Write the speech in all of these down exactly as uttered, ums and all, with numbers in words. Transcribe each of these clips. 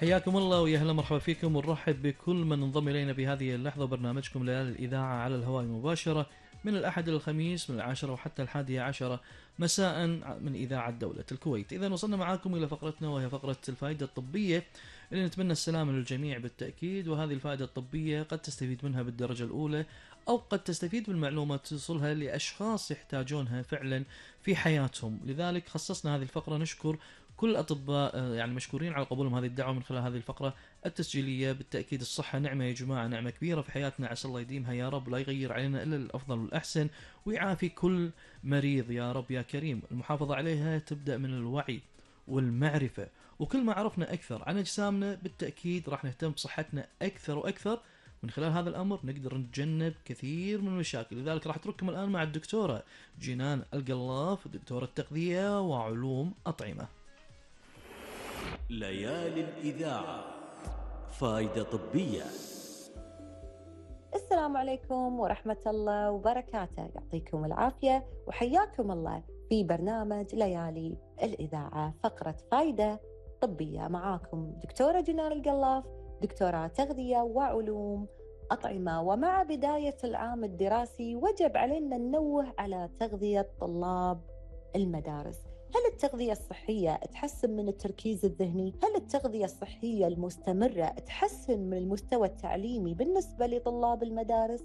حياكم الله ويا هلا مرحبا فيكم ونرحب بكل من انضم إلينا بهذه اللحظة. برنامجكم ليالي الإذاعة على الهواء مباشرة من الأحد إلى الخميس من العاشرة وحتى الحادية عشرة مساء من إذاعة دولة الكويت. إذا وصلنا معاكم إلى فقرتنا وهي فقرة الفائدة الطبية اللي نتمنى السلام للجميع بالتأكيد. وهذه الفائدة الطبية قد تستفيد منها بالدرجة الأولى أو قد تستفيد بالمعلومات توصلها لأشخاص يحتاجونها فعلا في حياتهم. لذلك خصصنا هذه الفقرة نشكر كل الأطباء يعني مشكورين على قبولهم هذه الدعوة من خلال هذه الفقرة التسجيلية. بالتأكيد الصحة نعمة يا جماعة، نعمة كبيرة في حياتنا، عسى الله يديمها يا رب، لا يغير علينا إلا الأفضل والأحسن، ويعافي كل مريض يا رب يا كريم. المحافظة عليها تبدأ من الوعي والمعرفة، وكل ما عرفنا أكثر عن أجسامنا بالتأكيد راح نهتم بصحتنا أكثر وأكثر. من خلال هذا الأمر نقدر نتجنب كثير من المشاكل. لذلك راح أترككم الآن مع الدكتورة جنان القلاف، دكتورة تغذية وعلوم أطعمة. ليالي الإذاعة، فائدة طبية. السلام عليكم ورحمة الله وبركاته، يعطيكم العافية وحياكم الله في برنامج ليالي الإذاعة، فقرة فائدة طبية. معاكم دكتورة جنان القلاف، دكتورة تغذية وعلوم أطعمة. ومع بداية العام الدراسي وجب علينا ننوه على تغذية طلاب المدارس. هل التغذية الصحية تحسن من التركيز الذهني؟ هل التغذية الصحية المستمرة تحسن من المستوى التعليمي بالنسبة لطلاب المدارس؟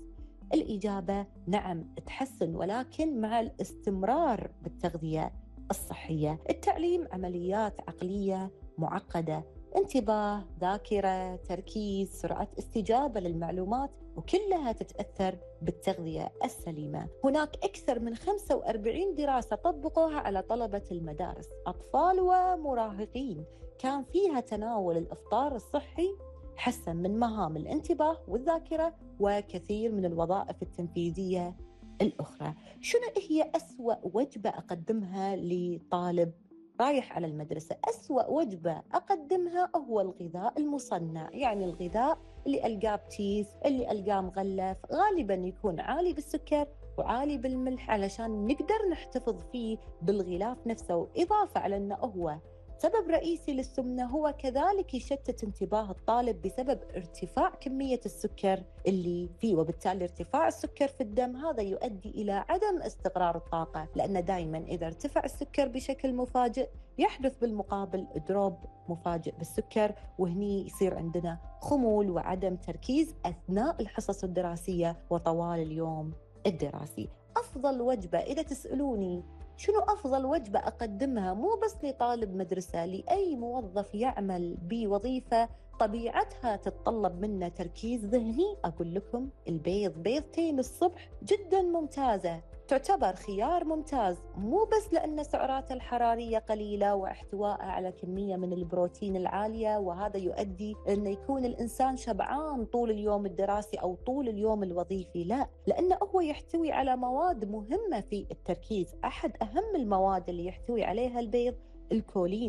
الإجابة نعم تحسن، ولكن مع الاستمرار بالتغذية الصحية. التعليم عمليات عقلية معقدة، انتباه، ذاكرة، تركيز، سرعة استجابة للمعلومات، وكلها تتأثر بالتغذية السليمة. هناك أكثر من خمسة وأربعين دراسة طبقوها على طلبة المدارس، أطفال ومراهقين، كان فيها تناول الإفطار الصحي حسن من مهام الانتباه والذاكرة وكثير من الوظائف التنفيذية الأخرى. شنو هي أسوأ وجبة أقدمها لطالب رايح على المدرسة؟ أسوأ وجبة أقدمها هو الغذاء المصنع، يعني الغذاء اللي ألقاه بتيس، اللي ألقاه مغلف، غالباً يكون عالي بالسكر وعالي بالملح علشان نقدر نحتفظ فيه بالغلاف نفسه. وإضافة على أنه هو سبب رئيسي للسمنة، هو كذلك يشتت انتباه الطالب بسبب ارتفاع كمية السكر اللي فيه، وبالتالي ارتفاع السكر في الدم هذا يؤدي إلى عدم استقرار الطاقة، لأن دائما إذا ارتفع السكر بشكل مفاجئ يحدث بالمقابل دروب مفاجئ بالسكر، وهني يصير عندنا خمول وعدم تركيز أثناء الحصص الدراسية وطوال اليوم الدراسي. أفضل وجبة، إذا تسألوني شنو أفضل وجبة أقدمها مو بس لطالب مدرسة، لأي موظف يعمل بوظيفة طبيعتها تتطلب منا تركيز ذهني، أقول لكم البيض. بيضتين الصبح جدا ممتازة، تعتبر خيار ممتاز، مو بس لأن سعراته الحرارية قليلة واحتوائه على كمية من البروتين العالية، وهذا يؤدي أن يكون الإنسان شبعان طول اليوم الدراسي أو طول اليوم الوظيفي، لا، لأنه هو يحتوي على مواد مهمة في التركيز. أحد أهم المواد اللي يحتوي عليها البيض الكولين.